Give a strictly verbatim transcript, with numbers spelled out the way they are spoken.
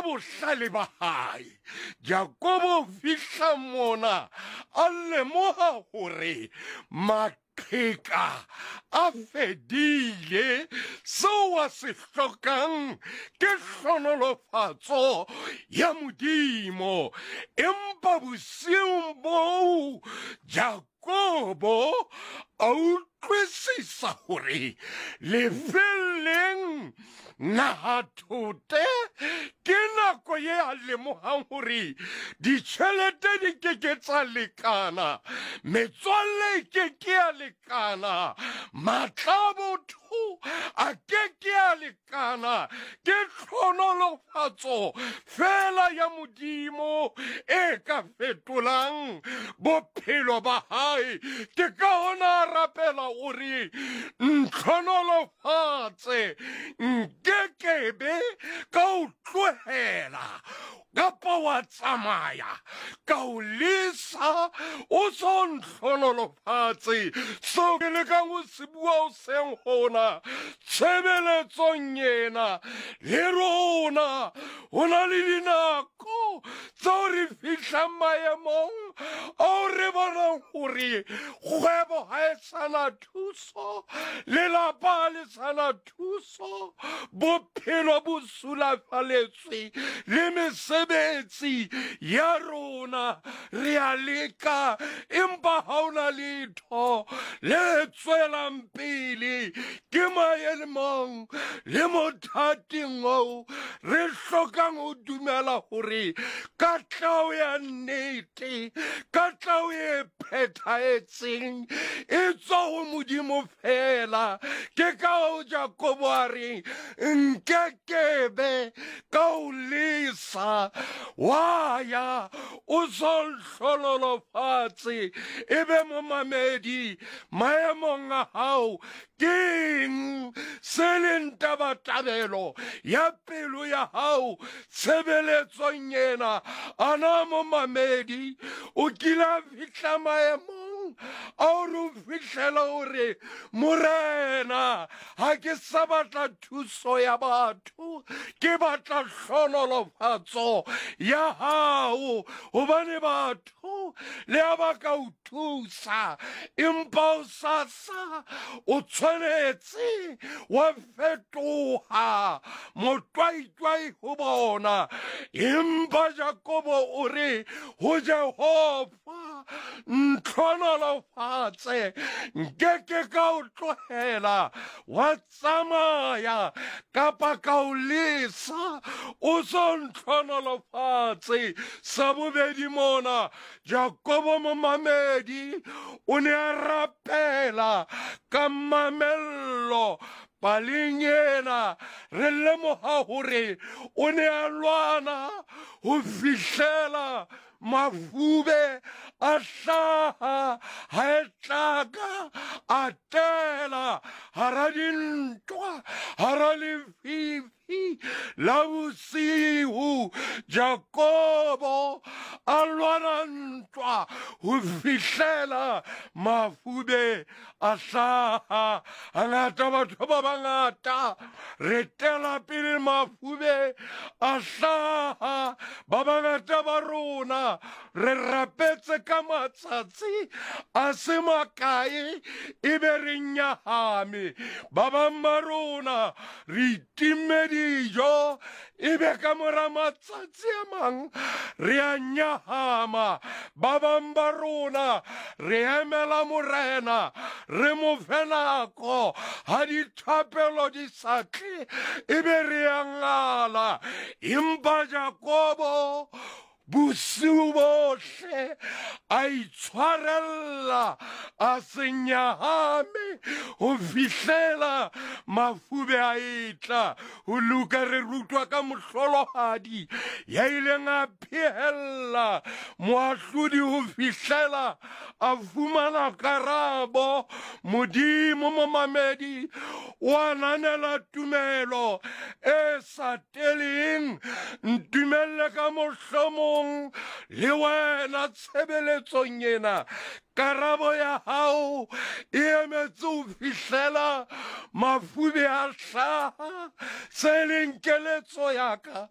Ka bohlale ba hae, Jakobo o fihla mona a lemoga gore maqheka a fedile. Seo a se hlokang ke hlonolofatso ya Modimo. Empa bosiung boo Jakobo a utlwisisa hore lefelleng nahathote ke nako ye a lemogang gore ditšhelete di ke ke tsa lekana, metswalle e ke ke ya lekana, maatla a botho a ke ke a lekana, ke tlhonolofatso fela ya Modimo e ka fetolang bophelo ba hae. Ke ka hona a rapela o re, Ntlhonolofatse, nkekebe ka o tlohela kapa wa tsamaya ka o lesa o so ntlhonolofatse. Seo ke lekang ho se bua hoseng hona tshebeletsong ena, le rona ho na le dinako tseo re fihlang maemong ao re bonang hore kgwebo ha e sa na thuso, lelapa ha le sa na thuso, bophelo bo sulafaletswe le mesebetsi ya rona re a leka, empa ha o na letho le tswelang pele. Ke maemong le mothating oo re hlokang ho dumela hore katleho ya nnete, katleho e phethahetseng e tswa ho Modimo fela. Ke ka hoo Jakobo a reng, Nkekebe ka o lesa wa ya o so nhlololofatse. E be momamedi maemong a hao, keng se leng tabatabelo ya pelo ya hao tshebeletsong ena? Ana momamedi o kile a fihla maemong ao re o fihlela hore, Morena, ha ke sa batla thuso ya batho, ke batla hlonolofatso ya hao, hobane batho le ha ba ka o thusa, empa o sasa o tshwanetse wa fetoha motwaitwai ho bona. Empa Jakobo o re ho Jehova, Ntlhonolofatse, nkeke ka o tlohela wa tsamaya kapa ka o lesa o so ntlhonolofatse. Sa bobedi mona, Jakobo momamedi o ne a rapela ka mamello. Paleng ena re lemoga hore o ne a lwana ho fihlela mafube a hlaha, ha e tlaka a tela hara dintwa, hara lefifi la bosiu. Jakobo a lwana ntwa ho fihlela mafube a hlaha. Hangata batho ba bangata re tela pele mafube a hlaha. Ba bangata ba rona re rapetse ka matsatsi a se makae ebe re nyahame. Ba bang ba rona re itimme dijo ebe ka mora matsatsi a mang re a nyahama. Ba bang ba rona re emela Morena, re mo fe nako, ha dithapelo di sa tle ebe re a ngala. Empa Jakobo bosiu bohle a itshwarella, a se nyahame ho fihlela mafube a etla. Ho Luka re rutwa ka mohlolohadi ya ileng a phehella moahlodi ho fihlela a fumana karabo. Modimo momamedi o ananela tumelo e sa teleng. Ntumelle ka mohlomong le wena tshebeletsong ena, karabo ya hao e emetse ho fihlela mafube a hlaha. Se leng keletso ya ka,